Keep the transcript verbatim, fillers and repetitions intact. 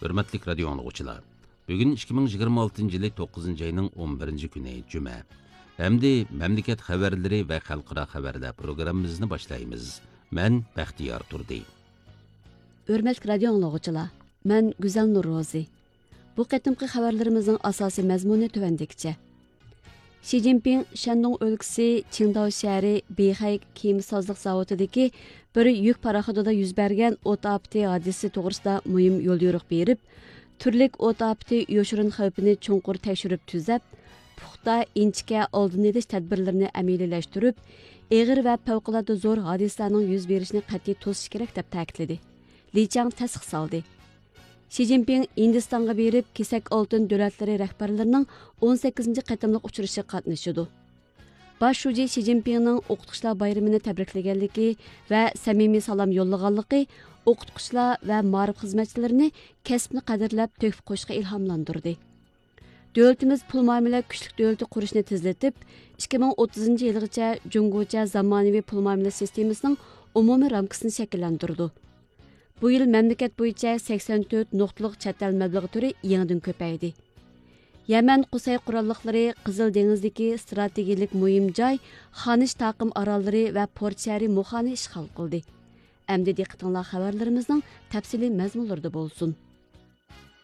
ھۆرمەتلىك رادىيو ئاڭلىغۇچىلار، بۈگۈن ئىككى مىڭ يىگىرمە ئالتىنچى يىلى توققۇزىنچى ئاينىڭ ئون بىرىنچى كۈنى، جۈمە. ئەمدى مەملىكەت خەۋەرلىرى ۋە خەلقئارا خەۋەرلەر پروگراممىمىزنى باشلايمىز. مەن بەختىيار تۇردى. ھۆرمەتلىك رادىيو ئاڭلىغۇچىلار، مەن گۈزەل نۇرروزى. بۇ قېتىمقى خەۋەرلىرىمىزنىڭ ئاساسىي مەزمۇنى تۆۋەندىكىچە. شى جىنپىڭ شەندۇڭ ئۆلكىسى چىڭداۋ شەھىرى بېيخەي كېمە سازلىق زاۋۇتىدىكى بىر يۈك پاراخوتىدا يۈز بەرگەن ئوت ئاپىتى ھادىسىسى توغرىسىدا مۇھىم يوليورۇق بېرىپ، تۈرلۈك ئوت ئاپىتى يوشۇرۇن خەۋپىنى چوڭقۇر تەكشۈرۈپ تۈزەپ، پۇختا، ئىنچىكە ئالدىنى ئېلىش تەدبىرلىرىنى ئەمەلىيلەشتۈرۈپ، ئېغىر ۋە پەۋقۇلئاددە زور ھادىسىلەرنىڭ يۈز بېرىشىنى قەتئىي توسۇش كېرەك، دەپ تەكىتلىدى. لى چاڭ تەستىقلىدى. شى جىنپىڭ ھىندىستانغا بېرىپ، كېسەك ئالتۇن دۆلەتلىرى رەھبەرلىرىنىڭ ئون سەككىزىنچى قېتىملىق ئۇچرىشىغا قاتنىشىدۇ. باش شۇجى شى جىنپىڭنىڭ ئوقۇتقۇچىلار بايرىمىنى تەبرىكلىگەنلىكى ۋە سەمىمىي سالام يوللىغانلىقى ئوقۇتقۇچىلار ۋە مائارىپ خىزمەتچىلىرىنى كەسىپنى قەدىرلەپ تۆھپە قوشۇشقا ئىلھاملاندۇردى. دۆلىتىمىز پۇل مۇئامىلە كۈچلۈك دۆلىتى قۇرۇشنى تېزلىتىپ، ئىككى مىڭ ئوتتۇزىنچى يىلغىچە جۇڭگوچە زامانىۋى پۇل مۇئامىلە سىستېمىسىنىڭ ئومۇمىي رامكىسىنى شەكىللەندۈرىدۇ. بۇ يىل مەملىكەت بويىچە سەكسەن تۆت نۇقتىلىق چەت ئەل مەبلىغى تۈرى يېڭىدىن كۆپەيدى. يەمەن قۇسەي قوراللىقلىرى قىزىل دېڭىزدىكى ئىستراتېگىيىلىك مۇھىم جاي خانىش تاقىم ئاراللىرى ۋە پورت شەھىرى مۇخانى ئىشغال قىلدى. ئەمدى دىققىتىڭلار خەۋەرلىرىمىزنىڭ تەپسىلىي مەزمۇنلىرىدا بولسۇن.